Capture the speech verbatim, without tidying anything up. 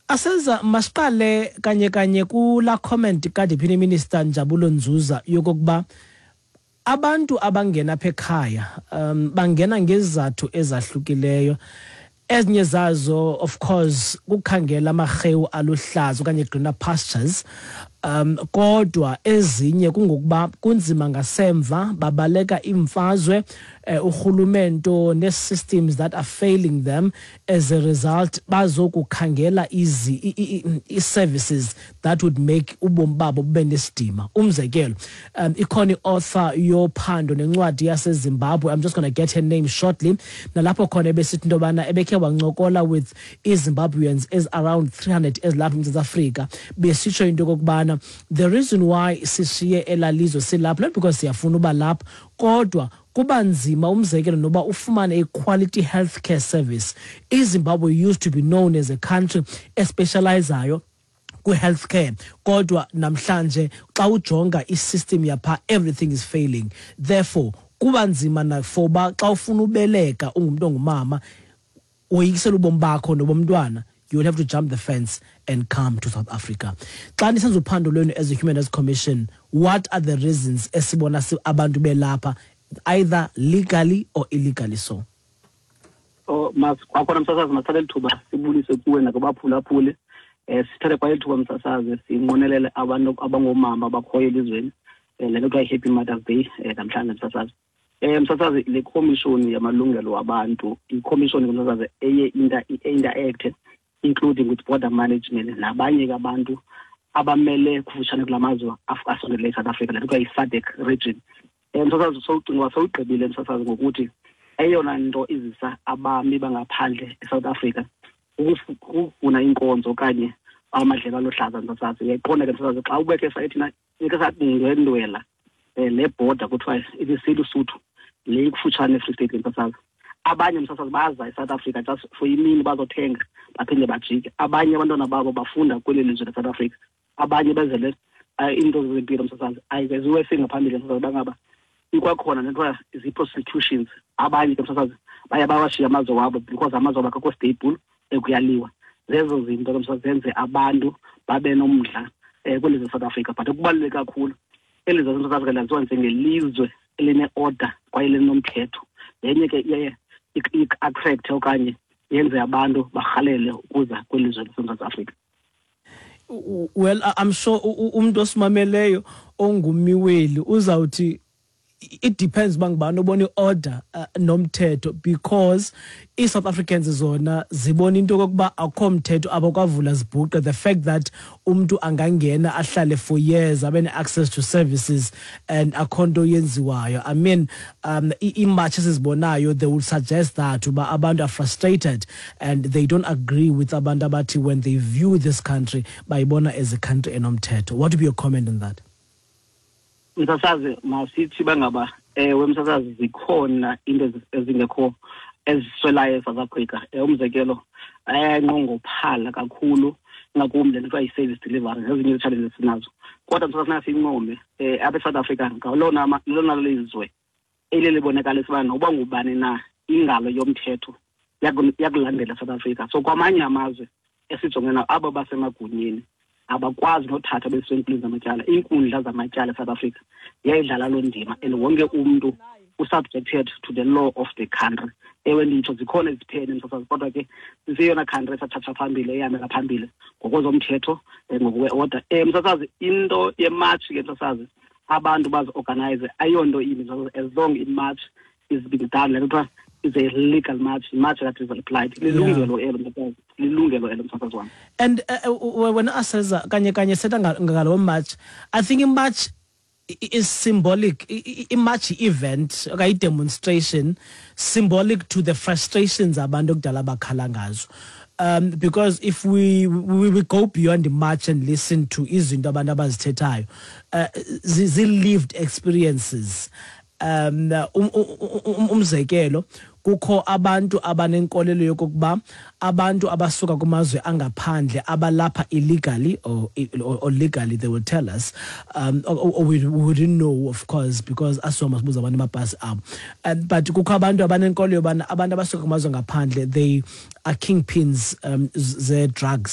Asenza masiqale kanye kanye kula comment kaDeputy Minister Njabulo Nzuza yokokuba abantu abangena apha ekhaya um bangena ngezizathu ezahlukileyo. Ezinye zazo, of course, kukhangela amarhewu aluhlaza okanye greener pastures, um kodwa ezinye kungokuba kunzima ngasemva, babaleka imfazwe, eh, urhulumento nee-systems that are failing them. As a result, bazokukhangela izi i-services that would make ubomi babo bube nesidima. Umzekelo, um ikhona i-author yophando nencwadi yaseZimbabwe, I'm just going to get her name shortly, nalapho khona ebesithi into yobana ebekhe wancokola with iZimbabweans as around three hundred ezilapha eMzantsi Afrika, besitsho into yokokubana the reason why sishiye elalizwe silapha, not because siyafuna uba lapha, kodwa kuba nzima, umzekelo, noba ufumane a-quality healthcare service. IZimbabwe used to be known as a country especializayo kwi-healthcare, kodwa namhlanje xa ujonga i-system yapha, everything is failing. Therefore kuba nzima na for uba xa ufuna ubeleka ungumntu ongumama, woyikisela ubomi bakho nobomntwana, you will have to jump the fence and come to South Africa. Xa nisenza uphando lwenu as a Human Rights Commission, what are the reasons esibona abantu belapha, either legally or illegally so? Oh, mas kwakhona, msasazi, masithathe lithuba sibulise kuwe nakubaphulaphuli. um sithathe kwa lithuba, msasazi, sinqwenelele abantu abangoomama abakhoyo elizweni um le nto kuthiwa yi-Happy Mother's Day um namhlanje, msasazi. um msasazi le khomishoni yamalungelo wabantu, ikhomishoni, msasazi, eye interact including with border management nabanye ke abantu abamele kufutshane kula mazwe asondele eSouth Africa, le nto kuthiwa yi-SADC region. um msasazi sowucinga sowugqibile, msasazi, ngokuthi eyona nto izisa abami bangaphandle eSouth Africa kukufuna iinkonzo okanye amadlelo aluhlaza, msasazi. Uyayiqonda ke, msasazi, xa ubekhe saye thina ike sakundwendwela um le border kuthiwa ibisilusuthu le ikufutshane eFree State, msasazi. Abanye, msasazi, baza eSouth Africa just for imini bazothenga baphinde bajike. Abanye abantwana babo bafunda kweli lizwe leSouth Africa, abanye bezele iinto zezempilo, msasazi. Ayiziwe singaphambili, msasazi, bangaba ikwakhona nenthiwa zii-prostitutions. Abanye ke, msasazi, baye bawashiya amazwe wabo because amazwe wabo akakho stable, ekuyaliwa. Zezo zinto ke, msasazi, zenze abantu babe nomdla um kweli lizwe South Africa. But okubaluleke kakhulu, eli lizwe laseSouth Africa laziwa njengelizwe eline-order kwaye linomthetho. Yenye ke iye i-attract okanye yenze abantu barhalele ukuza kweli lizwe laseMzantsi Afrika. Well, I'm sure umuntu osimameleyo ongumiweli uzawuthi it depends uba ngubani obona i-order uh, nomthetho, because ii-South Africans zona zibona into yokokuba akukho mthetho apho kwavula zibhuqe. The fact that umntu angangena ahlale for years, abe ne-access to services and akho nto yenziwayo. I mean, um iimatshi esizibonayo, they will suggest that uba abantu are frustrated and they don't agree with abantu abathi when they view this country, bayibona as a country enomthetho. What would be your comment on that? Msasazi, masithi bangaba ewe, msasazi, zikhona into ezingekho eziswelayo eSouth Africa. Umzekelo, ayanqongophala kakhulu, ngakumbi le nto kuthiwa yi-service delivery nezinye ii-challenges esinazo. Kodwa, msasazi, funeka siyincome um apha eSouth Africa, ngalona lelona lizwe eliye libonakalisa uba noba ngubani na, ingalo yomthetho yakulandela eSouth Africa. So kwamanye amazwe esijongene nawo, abo basemagunyeni abakwazi nothatha besiwe enkundleni zamatyala. Iinkundla zamatyala eSouth Africa ziyayidlala loo ndima and wonke umntu usubjected to the law of the country. Ewe, nditsho zikhona iziphene, msasazi, kodwa ke siseyona country esathatha phambili, ehambela phambili ngokwezomthetho, um ngokwe-order. um msasazi into ye-march ke, msasazi, abantu bazi-organize ayonto imbi, msasazi, as long i-march is being done, le nto kuthiwa is a legal march, march that is applied. Lilungelo elo, msasazi, lilungelo elo, msasazi wam. And uh, wena Aseza, kanye kanye setha ngalo march, I think i-march is symbolic, i-march event okanye i-demonstration symbolic to the frustrations abantu okudala bakhala ngazo, um because if we, we we go beyond the march and listen to izinto abantu abazithethayo, uh, zi-lived experiences. um umzekelo kukho abantu abanenkolelo yokokuba abantu abasuka kumazwe angaphandle abalapha illegally or, or, or legally, they will tell us, um or, or we, we wouldn't know, of course, because asoma sibuza abantu amapasi abo, um, but kukho abantu abanenkolo yobana abantu abasuka kumazwe ngaphandle, they are kingpins um ze drugs.